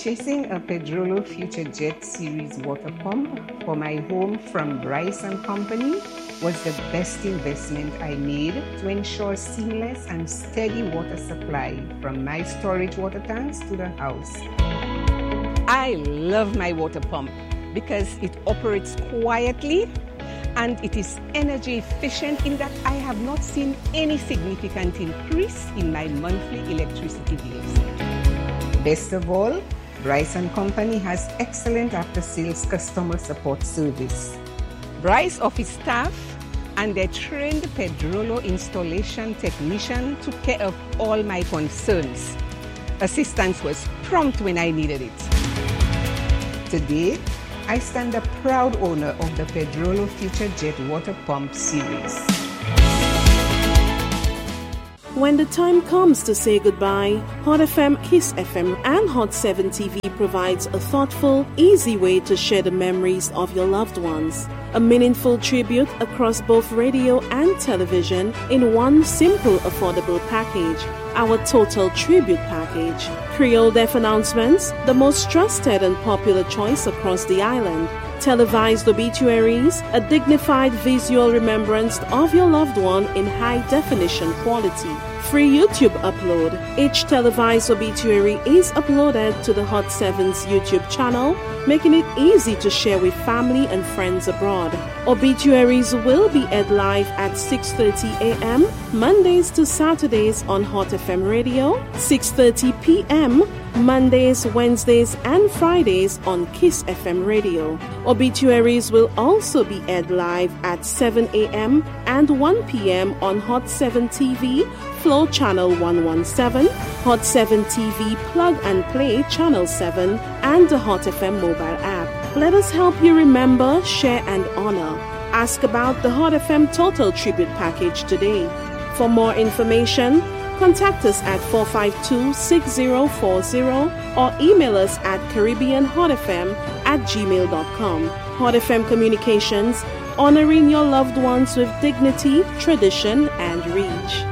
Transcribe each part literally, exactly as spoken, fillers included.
Purchasing a Pedrollo Future Jet Series water pump for my home from Bryce and Company was the best investment I made to ensure seamless and steady water supply from my storage water tanks to the house. I love my water pump because it operates quietly and it is energy efficient in that I have not seen any significant increase in my monthly electricity bills. Best of all, Bryce and Company has excellent after-sales customer support service. Bryce office staff and their trained Pedrollo installation technician took care of all my concerns. Assistance was prompt when I needed it. Today, I stand a proud owner of the Pedrollo Future Jet Water Pump Series. When the time comes to say goodbye, Hot F M, Kiss F M, and Hot seven T V provides a thoughtful, easy way to share the memories of your loved ones. A meaningful tribute across both radio and television in one simple, affordable package. Our Total Tribute Package. Creole Death Announcements, the most trusted and popular choice across the island. Televised obituaries, a dignified visual remembrance of your loved one in high definition quality. Free YouTube upload. Each televised obituary is uploaded to the Hot seven's YouTube channel, making it easy to share with family and friends abroad. Obituaries will be aired live at six thirty a m. Mondays to Saturdays on Hot F M Radio, six thirty p m. Mondays, Wednesdays, and Fridays on Kiss F M Radio. Obituaries will also be aired live at seven a m and one p m on Hot seven T V, Flow Channel one one seven, Hot seven T V Plug and Play Channel seven, and the Hot F M mobile app. Let us help you remember, share, and honor. Ask about the Hot F M Total Tribute Package today. For more information, contact us at four five two, six zero four zero or email us at caribbeanhotfm at gmail dot com. Hot F M Communications, honoring your loved ones with dignity, tradition, and reach.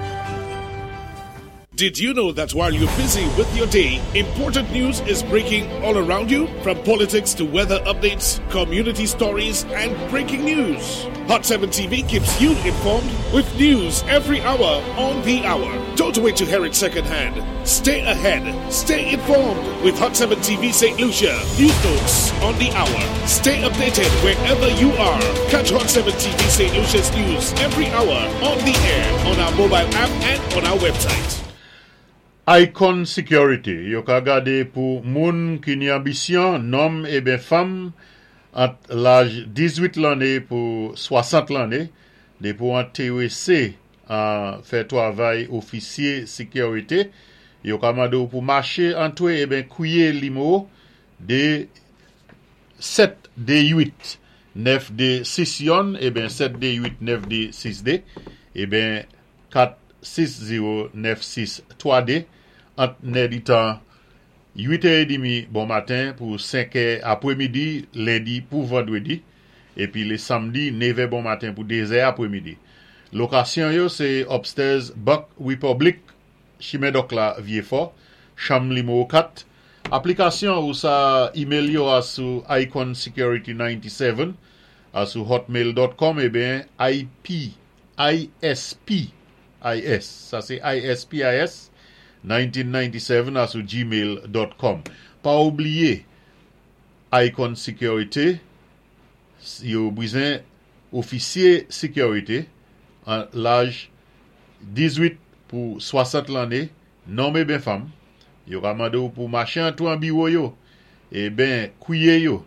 Did you know that while you're busy with your day, important news is breaking all around you? From politics to weather updates, community stories, and breaking news. Hot seven T V keeps you informed with news every hour on the hour. Don't wait to hear it secondhand. Stay ahead. Stay informed with Hot seven T V Saint Lucia. News notes on the hour. Stay updated wherever you are. Catch Hot seven T V Saint Lucia's news every hour on the air, on our mobile app, and on our website. Icon Security, yo ka gadé pou moun ki ni anbisyon, nonm é ben fanm, ant laj dizwit lanné pou swasant lanné, dépi ou entéwésé an fè twavay ofisyé sékirité, yo ka mandé ou pou maché antwé é ben kwiyé nimewo de sèt dé uit nèf dé sis yonn é ben sèt dé uit nèf dé sis dé é ben kat sis zewo nèf sis twa dé ant nè di tan uit è demi bon maten pou senk è apwémidi lendi pou vandwédi épi lé samdi nèv è bon maten pou dé è apwémidi. Lokasyon yo sé upstairs Bank Republic, Chimen Dòk la, Vyéfò, chanm nimewo kat. Aplikasyon ou sa email yo a sou icon security ninety-seven a sou hotmail dot com é ben I P I S P I S sa sé I S P I S mil nèg san nonannsèt a sou gmail dot com. Pa oubliyé, Icon Security yo bizwen ofisyé sékirité an laj dizwit pou swasant lanné, nonm é ben fanm. Yo ka mandé ou pou maché antwé an biwo yo é ben kwiyé yo.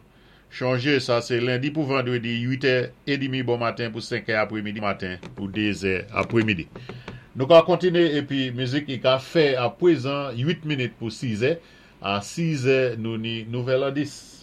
Chonjé, sa sé lendi pou vandwédi, uit è demi bon maten pou senk è apwémidi maten pou dé è apwémidi. Nou ka kontiné épi mizik i ka fè a pwézan uit minit pou sis è. A sis è nou ni nouvèl an dis.